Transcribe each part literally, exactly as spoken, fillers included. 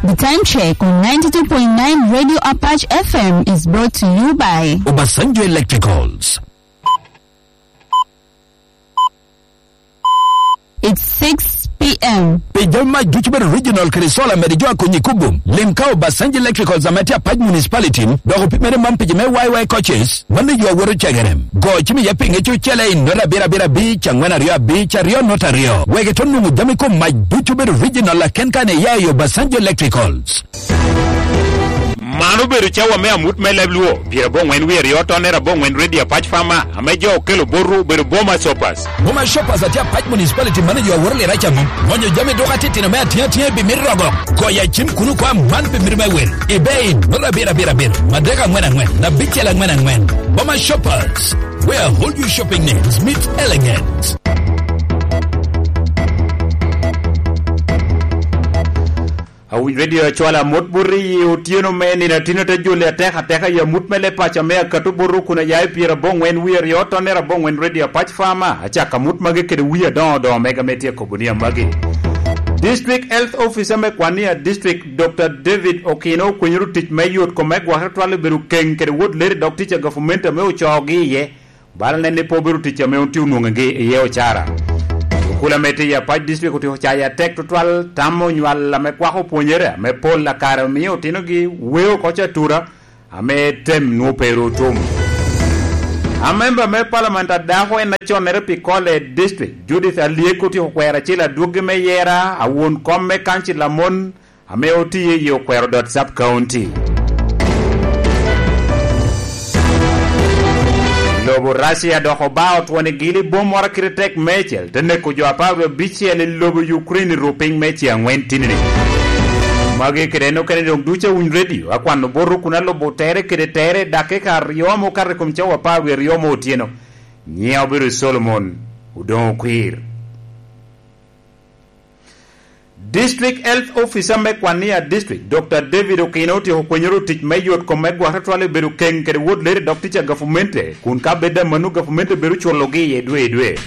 The time check on ninety-two point nine Radio Apache F M is brought to you by Obasanjo Electricals. It's six p.m. Pi jami mac ducu bedo original kede solar mede jo a konyi kubo. Lim ka Obasanjo Electricals ame tye Apac Municipality, dok opimere man pi jo me Y Y coaches, mano yo awoto cegere. Go cim iye pi ŋec ocele i nota abiro abiro abic, angwen aryo abic, aryo nota aryo. Wek ito nwoŋo jami kom mac ducu bedo original aken kan iya i Obasanjo Electricals. Man obedo cawa me amut me leb Luo, pyerabongwen wie aryo tonne rabongwen Radio Apac Farmer, ame jo okelo botwu obedo Boma Shoppers. Boma Shoppers atye Apac Municipality manager aworo lira caŋo. Ŋonyo jami duka titino me atiŋ atiŋ i bimit rogo. Goyo acim kuno kwa man bimit me wel. I bei, nura abiro abiro abiro, madek angwen angwen, abicel angwen angwen. Boma Shoppers, where all your shopping needs meet elegance. Awiny Radio acwala amut bot i otyeno me nino atino te jole atek ateka i amut me le paco me akato bot kun aya i pyerabongwen wie aryo tonne rabongwen Radio Apac Farmer. Acako amut magi kede wie adoŋo doŋo mega me tye kobo ni amagi. District Health Officer me Kwania District, Doctor David Okino, okwenyoro tic me yot kome gwok twal obedo keng kede wot leri dok tic a gavumenti ame ocoogi iye. Bala nen ni pe obedo tic ame otye onwoŋogi iye ocara. Okula ame tye i Apac District otye ocayo atek tutwal, tamo nywal ame kwako pwonyere ame pol akare omio otinogi weo oko catura ame tem nwo pe ru otum. Amemba me Parliament a dako en aconnere pi Kole District, Judith Alyek, otyeko kwero acel adwoggi me yera a won kom me kancil amon ame otiye i Okwero dot Sub County. Lobo Russia dok oba otwoni gili bom moro kite tek mecel, te neko jo apar wie abicel i lobo Ukraine i rupiny me ce angwen tinini. Magi kede en okene doŋ ducu awiny radio, akwano botwu kun alubo tere kede tere dakika aryo ame okato i kom cawa apar wie aryo me otyeno. Nyiŋa obedo Solomon Odoŋo Kwir. District Health Officer me Kwania District, Doctor David Okino, otyeko kwenyoro tic me yot kom me gwok tutwal i bedo keng kede wot leri dok tic a gavumenti, kun ka bed amanno gavumenti bedo culogi iye dwe i dwe.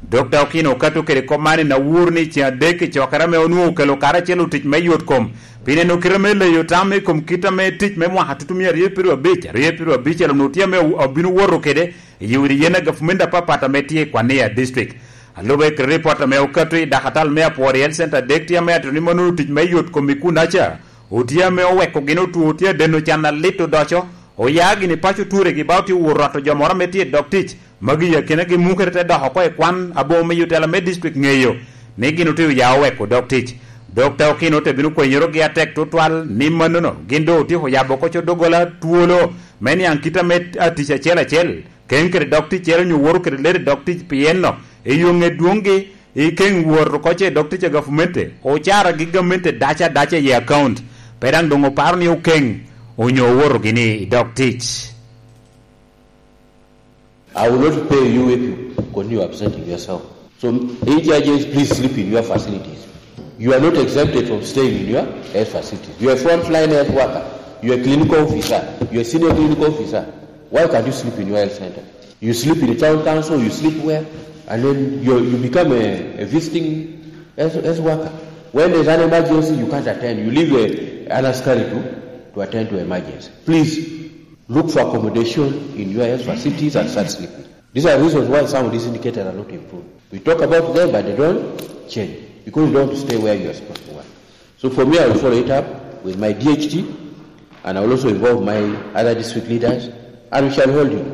Doctor Okino okato kede kop man i Nawur ni ceŋ adek i cokere ame onwoŋo okelo karacel otic me yot kom, pi neno kite me leyo tam i kom kit ame tic me mwaka tutumia aryo piro abic, aryo piro abic onwoŋo tye ame obino woto kede i udi yen a gavumenti apapat ame tye i Kwania District. Alube kede ripot ame okato i dakatal me Apwori Health Center adek tye ame atito ni mannono tic me yot kom i kunaca otye ame oweko gin otwo otye adeno can alit odoco, oya gini paco turegi ba otye owot rwato jo moro ame tye i dog tic, magi i akinagi mukere te dok oko i kwan aboŋo me yotela me district ŋeyo ni gin otye oya oweko dog tic. Dokta Okino te bino kwenyorogi atek tutwal ni mannono gin doŋ otyeko yabo oko co doggola twolo me niaŋ kit ame atic acel acel, keny kede dog ticcere onyo woto kede lere dog tic, pien no eyo ŋe dwoŋgi i keŋ wot oko ce dog tic a gavumenti, ocara gi gamente dac adaca i akaunt, pe daŋ doŋ oparo ni okeŋ onyo owoto gini i dog tic. I will not pay you if you continue absenting yourself. So, in judges, please sleep in your facilities. You are not exempted from staying in your health facilities. You are a frontline health worker. You are a clinical officer. You are a senior clinical officer. Why can't you sleep in your health center? You sleep in the town council, you sleep where, and then you, you become a, a visiting health, health worker. When there's an emergency, you can't attend. You leave a, an askari to, to attend to emergency. Please, look for accommodation in your health facilities and start sleeping. These are reasons why some of these indicators are not improved. We talk about them, but they don't change because you don't stay where you are supposed to work. So for me, I will follow it up with my D H T, and I will also involve my other district leaders, and we shall hold you.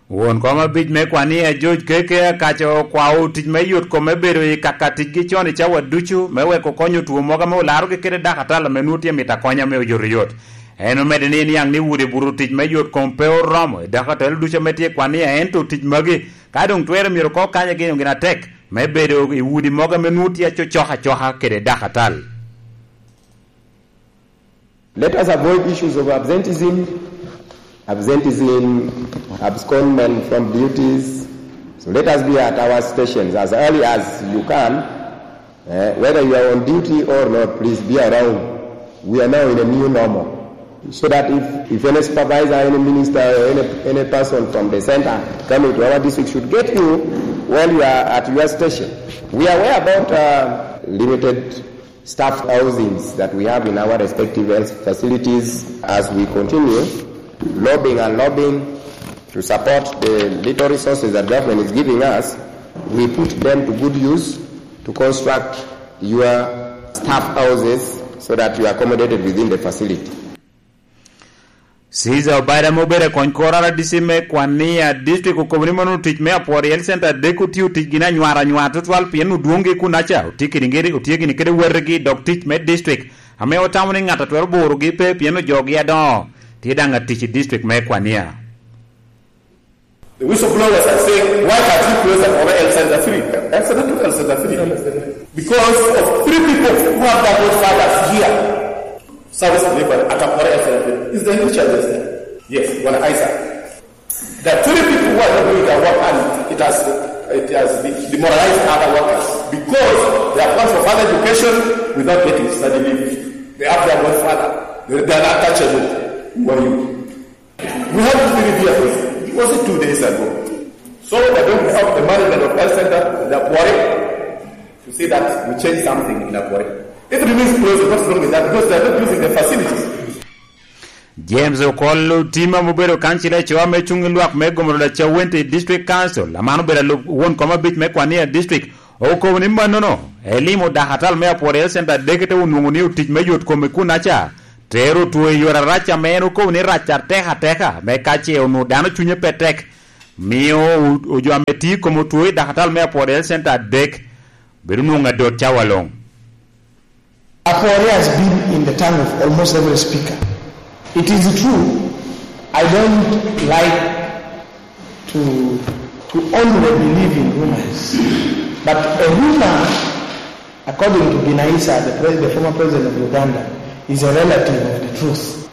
Won kom abic me Kwania George Keke akaco kwao tic me yot kome bedo i kaka ticgi con i cawa ducu me weko konyo two mogo ame olarogi kede dakatal ame nwoŋo tye mito akonya me oyotoyot. En omedde ni niaŋ ni wode buto tic me yot kom pe oromo i dakatal ducu ame tye i Kwania, ento tic magi ka doŋ twere myero ko kanye gin gin atek me bedo i wodi mogo ame nwoŋo tye acocok acoka kede dakatal. Let us avoid issues of absenteeism, absenteeism, abscondment from duties. So let us be at our stations as early as you can. Eh, whether you are on duty or not, please be around. We are now in a new normal. So that if, if any supervisor, any minister, or any, any person from the center coming to our district should get you while you are at your station. We are aware about uh, limited staff housings that we have in our respective health facilities as we continue lobbying and lobbying to support the little resources that government is giving us. We put them to good use to construct your staff houses so that you are accommodated within the facility. Caesar Obaida ame obedo akony kor R D C me Kwania District okobo ni mono tic me Apwori Health Center dek otio tic gin anywar anywar tutwal pien odwoŋgi kunaca otye kede otye gini kede wetegi dok tic me district ame otamo ni ŋat a twero burogi pe pien ojogi adoŋo tye daŋ atic i district me Kwania. The whistleblowers are saying, why can't you close Apwori Health Center three? Health Center two, Health Center three. Because of three people who have their godfathers here. Service delivery at Apwori Health Center three. Is the nature of this thing. Yes, Bwana Isaac. There are three people who are not doing their work and it has it has demoralized other workers because they have gone for further education without getting study leave. They have their godfather. They are not touchable. Who are you? We had three vehicles. It was two days ago. So I don't have the management of health center, the Apwori, to say that we change something in Apwori. If it remains closed, what's wrong with that? Because they are not using the facilities. James Okol Otima ma obedo kancila i cowa me cuŋ i lwak me Gomoro Lacawente District Council, aman obedo alub won kom abic me Kwania District, okobo ni mannono elimo dakatal me Apwori Health Center adek te onwoŋo ni otic me yot kome kunaca tero two i yore arac ame en okobo ni rac atek ateka me ka ce onwoŋo dano cunye pe tek mio ojo ame tye i kom otwo i dakatal me Apwori Health Center adek bedo nwoŋo adot cawa luŋ. Apwori has been in the tongue of almost every speaker. It is true, I don't like to, to only believe in rumors, but a rumor, according to Binaisa, the, pres- the former president of Uganda, is a relative of the truth.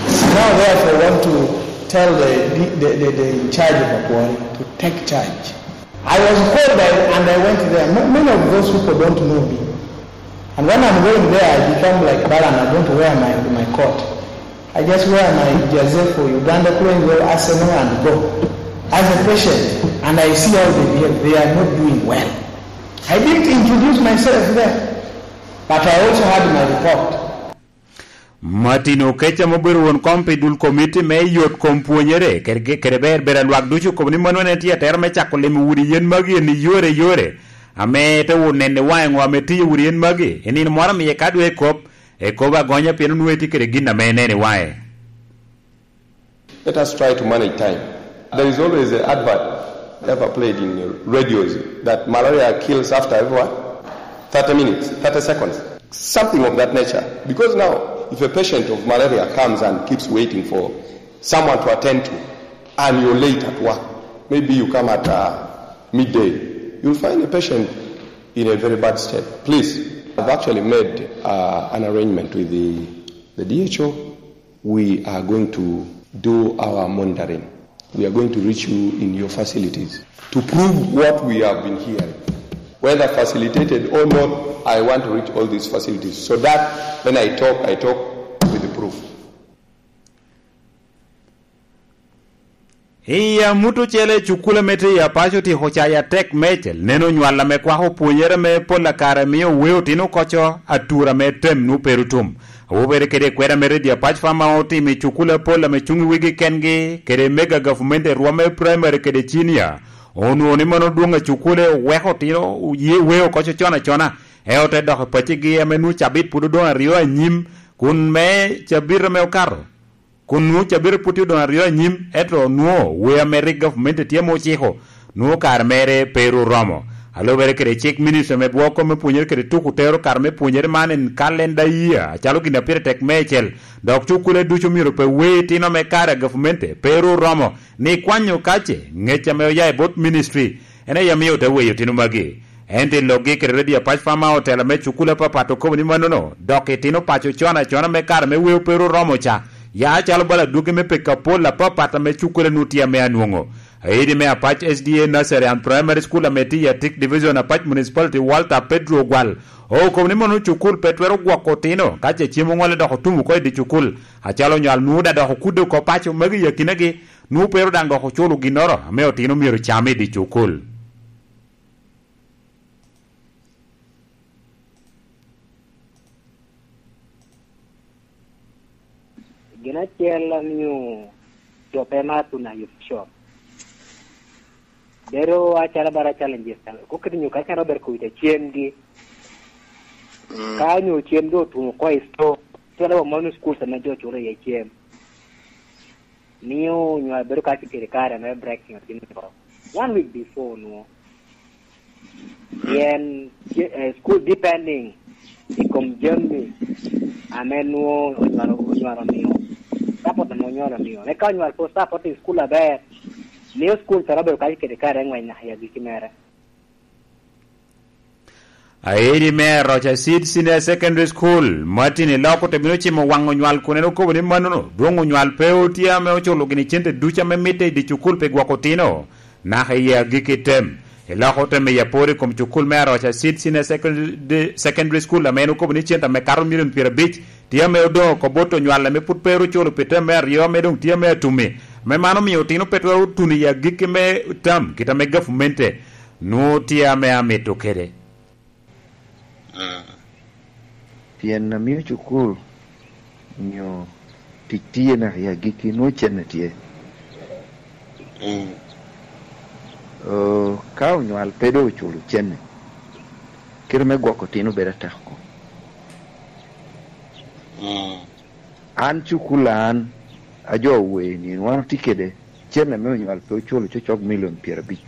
I now therefore want to tell the, the, the, the in charge of Apwori to take charge. I was called by, and I went there. Many of those people don't know me. And when I'm going there, I become like Balaam. I don't wear my, my coat. I just wear my jersey for Uganda, playing well Arsenal and go. As a patient, and I see how they behave, they are not doing well. I didn't introduce myself there, but I also had my report. Martin Okeca ma obedo won kom pi dul komiti me yot kom pwonyere kede ber ber a lwak ducu okobo ni mano en tye atera me cako limo udi yen magi en i yore yore ame te wun nene waŋe ŋo ame tiyo udi yen magi i nino moro amiye ka dwe kop ekobo agonya pien onwoŋo etye kede gin ame nene waŋe. Let us try to manage time. There is always an advert ever played in radios that malaria kills after every what? thirty minutes, thirty seconds, something of that nature. Because now, if a patient of malaria comes and keeps waiting for someone to attend to, and you're late at work, maybe you come at uh, midday, you'll find a patient in a very bad state. Please, I've actually made uh, an arrangement with the, the D H O. We are going to do our monitoring. We are going to reach you in your facilities to prove what we have been hearing. Whether facilitated or not, I want to reach all these facilities so that when I talk, I talk with the proof. I amut ocele, cukul ame tye i Apac otyeko cayo atek mecel neno nywal ame kwako pwonyere ame pol akare mio weo otino koco atura me tem nwo pe ru tum. Awobe kede i kweda me Redio Apac Fama otimo i cukul apol ame cuŋ i wigi kengi kede mega gavumenti i rwom me praimari kede cinia. Onwoŋo ni mano dwoŋ a cukule oweko otino ye weo koco con acona, eo te dok i pacigi ame nwo cabit pwod odoŋ aryo anyim, kun me cabit ame okato. Kun nwoŋo cabit pwod tye odoŋ aryo anyim, ento nwoŋo wea me rik gavumenti tye ame ociko, nwoŋo kare mere pe ru oromo. A lubere kede cik, Ministry me Bwoko me Pwonyere kede Tuko tero kare me pwonyere man en kalenda yia acalo gin a pire tek meicel, dok cukule ducu myero pe wer itino me kare a gavumenti pe ru oromo ni kwanyo kace ngec ame oya i bot ministry en aye miyo ote weyo itino magi. Ento i lokgi kede Redio Apac Fama, otela me cukul apapat okobo ni mannono, dok itino paco con acona me kare me weo pe ru oromo ca, ya calo bala adwogi me peko apol apapat ame cukule nu tye ame anwoŋo. Aidi me Apac S D A Nursery and Primary School ame tye i Atik Division, Apac Municipality, Walter Pedro Ogwal, okobo ni mono cukul pe twero gwoko otino ka ce cem oŋolle dok otum oko i di cukul, acalo onywal nwoŋo da dok okudde oko paco magi i akinagi, nwoŋo pe ru daŋ dok oculo ginnoro ame otino myero cam i di cukul. Gin acel amio jo pe mar tuno i official. Bedo acalo bara challenges, ko kiti nyo ka calo ber kuwita cemgi. Mm. Ka nyo cem do otuno ko i store, calo wa mano school sa ma jo chulo iye cem. Mio nyo abedo ka kiti kare me breaking thing ko. One week before no. Pien, eh, school depending i kom jami ame nwo onywalo, onywalo mio. Support ame onywalo mio. Eka onywal po support i school aber. Mio school tara obedo kacel kede kare ng'wec naka i agikki mere. Aeri me Rocha Seed Senior Secondary School, Martin Iloko te bino cimo waŋ onywal kun en okobo ni manono, dwoŋ onywal pe otye ame oculo gini cente ducu ame mitte i dye cukul pi gwoko otino, naka i agikki tem. Iloko te miyo apor i kom cukul me Aroca Seed Senior Secondary, Secondary School ame en okobo ni cente ame kato milion pyerabic tye ame odoŋ oko bot onywal ame pwod pe ru oculo pi tem me aryo ame doŋ tye ame atumi, ame man omio otino pe twero tuno i agikki me tam kit ame gavumente nwoŋo tye ame amito kede. Mm. Pien amio cukul nyo tic tye naka i agikki, nwoŋo cene tye. Mm. Oo, ka onywal pe doŋ oculo cene, kite me gwoko otino bedo atek oko. Mm. An cukul an, ajo wer ni wan otye kede cene me onywal pe oculo cocok milion pyerabic.